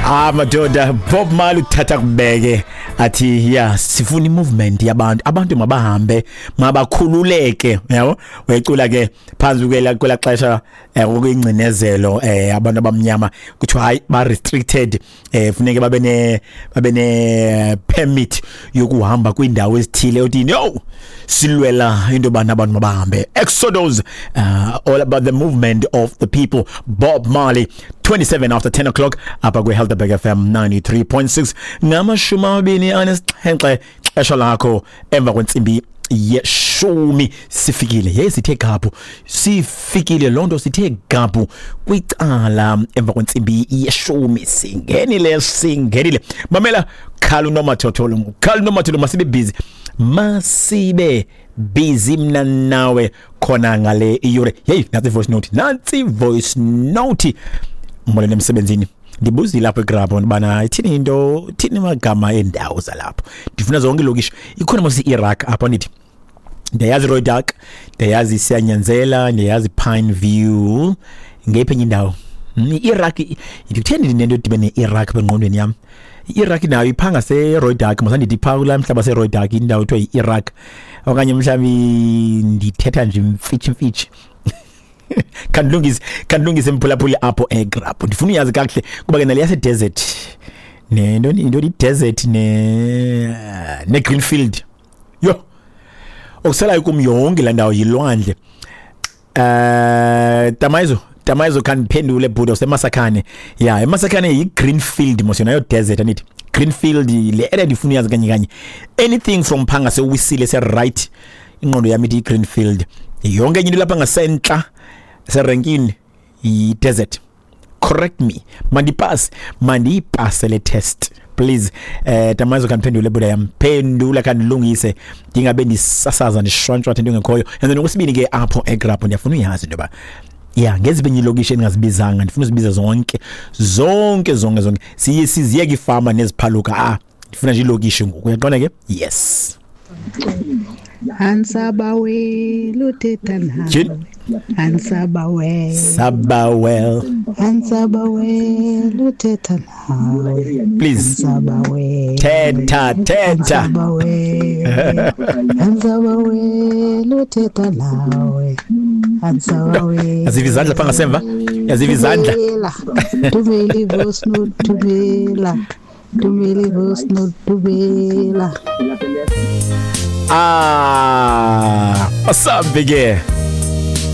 Ah madoda, Bob Marley uthatha kubeke athi ya sifuna imovement yabantu, abantu mabahambe, mabakhululeke, yabo. Uyayicula ke phansi kwela xesha okuyingcinezelo, abantu abamnyama kuthiwa hayi ba restricted, funeke babe ne permit yokuhamba kwindawo ezithile. Uthi yo silwela into bana abantu mabahambe. Exodus, all about the movement of the people, Bob Marley. 27 after 10 o'clock apha kwi-Helderberg FM 93.6, 27 xesha lakho emva kwentsimbi yeshumi. Sifikile, ye sithe gaphu, sifikile loo nto, sithe gaphu kwicala emva kwentsimbi yeshumi. Singenile, singenile. Mamela, khala unomathotholo, khala unomathotholo. Masibe busy, masibe busy mna nawe khona ngale iyure. Hey, nantsi voice note, nantsi voice note. Molweni emsebenzini. Ndibuzile apho eGrabho bana ithini into, ithini amagama endawo zalapho. Ndifuna zonke ilokishi. Ikhona mos i-Iraq apho ndithi ndiyayazi Rooidak, ndiyayazi Siyanyanzela, ndiyayazi Pine View. Ngeyiphi enye indawo? I-Iraq ndikutheni ndinento edibene ne-Iraq engqondweni yam? I-Iraq nayo ipha ngase-Rooidak mos, andithi ipha kulaa mhlaba seRooidak, indawo ethiwa yi-Iraq. Okanye mhlawumbi ndithetha nje mfitshi mfitshi. Khandilungise, khandilungise mphulaphuli apho eGrabho. Ndifuna uyazi kakuhle kuba ke nale yasedesert nento into i-desert ne Greenfield, yho, okusalayo kum yonke laa ndawo yilwandle. Tamayizo, Tamayizo, khandiphendule bhuti useMasakhane. Ya, eMasakhane yi-Greenfield mos yona, yo desert andithi? Greenfield le area ndifuna uyazi kanye kanye. Anything from phaa ngaseWisile se-right, ingqondo yam ithi yi-Greenfield. Yonke enye into lapha ngasentla serenkini yi-desert. Correct me, mandipase, mandiyipase le test please. Tamazo, khandiphendule buda yam, phendula, khandilungise ndingabe ndisasaza ndishwantshwatha into engekhoyo. And then okwesibini ke apho eGrabho ndiyafuna uyazi into yoba ya ngeziphi enye ilokishi endingazibizanga. Ndifuna uzibiza zonke, zonke, zonke, zonke. Siye siziyeke iifama neziphaluka. Ah, ndifuna nje ilokishi ngoku, uyaqonda ke? Yes. Ansabawel uthetha Tyhini. nawe. Ansabawel. Sabawel. Ansabawel uthetha nawe. Please. Ansabawel. Thetha, thetha. Ansabawel. Ansabawel uthetha nawe. Ansabawel. Yaziva izandla phaa ngasemva, yaziva izandla. Thumela. Thumela i-voice note, thumela. Thumela i-voice note, thumela. Ah, asambe ke.